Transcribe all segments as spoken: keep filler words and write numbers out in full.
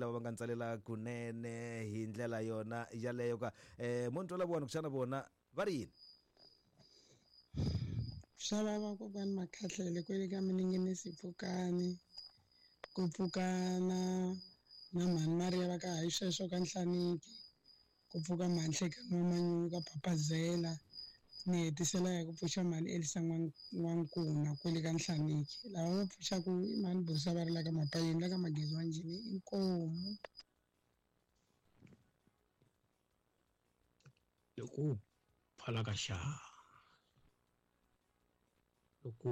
lava va nga ntsalela kunene hi ndlela yona yaleyo ka eh mo ni twela vona kuxana vona va ri yini. Xava va kokwani Makhahlele kwele ka Mininginisi Pfukani ku pfuka na na mhani Maria va ka hayi sweswo ka Nhlaniki ku pfuka mhani Nhlekani wa Manyuka Papazela ni hetisela ya ku pfuxa mhani Elisa N'wankuna kwele ka Nhlaniki lava va pfuxaku i mhani Busa va ri la ka Mapayeni la ka Magezi wa Njhini inkomu. Loko pfala ka xa loko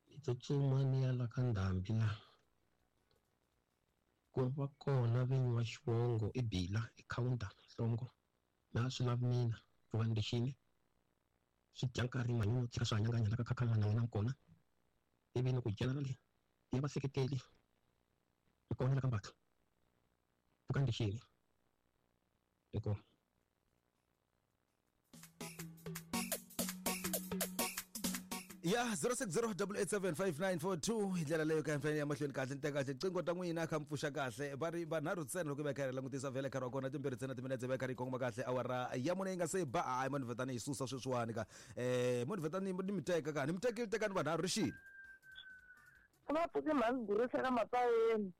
ni tsutsuma ni ya la ka ndhambi la ku va kona vinyi wa xivongo i Bila i counter nhlongo na swi lavi mina ku va ni lexini swi dya nkarhi manyunyu tshika swi hanyanganya la ka khakhamana na wena kona ivi ni ku generally ya vaseketeli hi kona la ka Mbatha ku ka ni lexini inkomu. Ya zero six zero eight eight seven five nine four two hi ndlela leyo ka mfanelo ya mahlweni kahle ni teka kahle qingo ta n'wina kha mi pfuxa kahle va ri vanharhu ntsena loko va kha ri langutisa vhele nkarhi wa kona timbirhi ntsena timinetse va kha ri kongoma kahle awara ya mune yi nga se ba hayi mani vhetani yi susa sweswiwani ka eh mani vhetani ni mi teka ka ni mi tekile tekani vanharhu ri xini va pfuke mhani Gurisa ka Mapayeni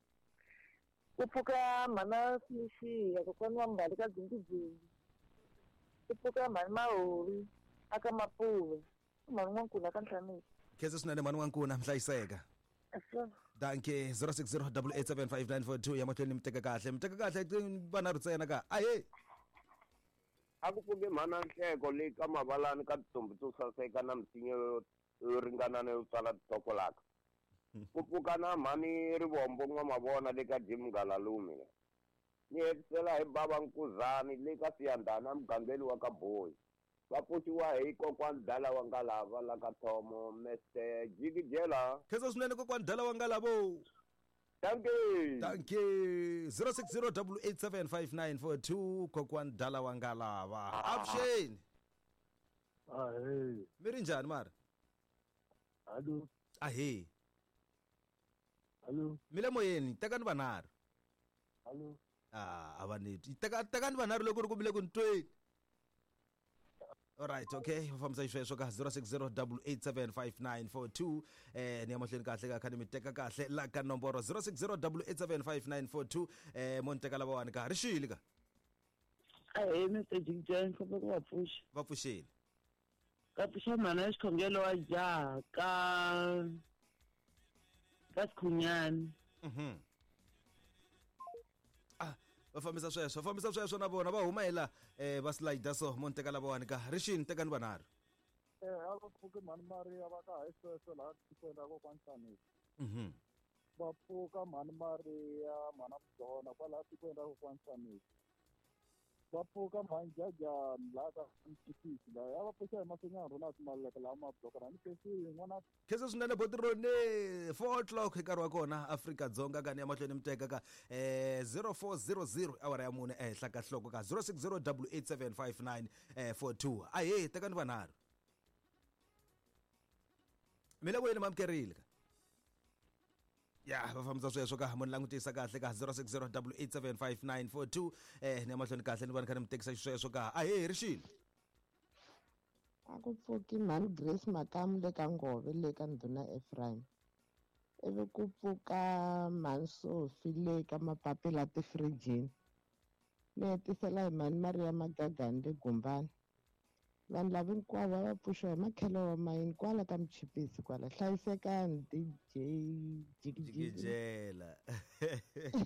ku pfuka mhana Sixiya kokwani wa Mbali ka Dzindizindi ku pfuka mhani Mahori aka Mapuve mhani N'wankuna ka Nhlaniki. Khensa swinene mhani N'wankuna mhlayiseka. Danke zero six zero eight eight seven five nine four two ya mahlweni mi teka kahle mi teka kahle vanharhu ntsena ka ahe a ku pfuke mhana Nhleko leyi ka Mavalani ka tintombi to saseka na misinya yo ringanana yo tswala titokolaka ku pfuka na mhani Rivombo N'wamavona le ka Jim Ngalalume ni hetisela hi bava Nkuzani le ka Siyandhana mugangeni wa ka Boyi va pfuxiwa hi kokwani Dala wa Ngalava la ka Thomo Mister Jikijela. Khensa swinene kokwani Dala wa Ngalava. Thank you. Thank you. zero six zero eight eight seven five nine four two kokwani Dala wa Ngalava. Avuxeni. Ahee. Mi ri njhani mara? Hallo. Ahee. Hallo. Mi le moyeni tekani vanharhu. Hallo. Ah, a va ni teka tekani vanharhu loko ri ku mi le ku ni tweni. All right, okay. Fambisa xisweswo ka zero six zero eight eight seven five nine four two eh ni ya mahlweni kahle ka kha ni mi teka kahle la ka nomboro zero six zero eight eight seven five nine four two eh mo ni teka lavawani ka ri xile ka. Ahee Mister Jikijela ni ku va pfuxa. Va pfuxile. Ka pfuxa mhana ya xikhongelo wa jaha ka ka Sikhunyani. Mhm. Ah va fambisa sweswo va fambisa sweswo na vona va huma hi la eh va slide so mo ni teka lavawani ka ri xini tekani vanharhu. Eh a va pfuke mhani Maria va ka hayi sweswo laha tikweni ra kokwani Nhlaniki. Mhm. Va pfuka mhani Maria mhana Mdona kwalaha tikweni ra kokwani Nhlaniki. Va pfuka mhani Jajani laha ka Mchipisi laha ya va pfuxa hi masinyana rona Maluleke laha mablokana ni khensi n'wana. Khensa swinene Botirone four o'clock hi nkarhi wa kona Afrika Dzonga ka ni ya mahlweni mi teka ka eh zero four zero zero awara ya mune ehenhla ka nhloko ka zero six zero eight eight seven five nine four two ahee tekani vanharhu mi le voyeni mamukerile ka ya va fambisa sweswo ka mo ni langutisa kahle ka zero six zero eight eight seven five nine four two eh ni ya mahlweni kahle ni vona kha ni mi tekisa xisweswo ka ahee ri xini. A ku pfuki mhani Grace Makamu le ka Ngove le ka Ndhuna Ephraim ivi ku pfuka mhani Sophie le ka Mapapila tifirijini ni hetisela hi mhani Maria Magagani le Gumbani. Vanhu lava hinkwavo va va pfuxiwa hi makhelo wa mayini kwala ka Mchipisi kwala. Hlayisekani D J Jikijela.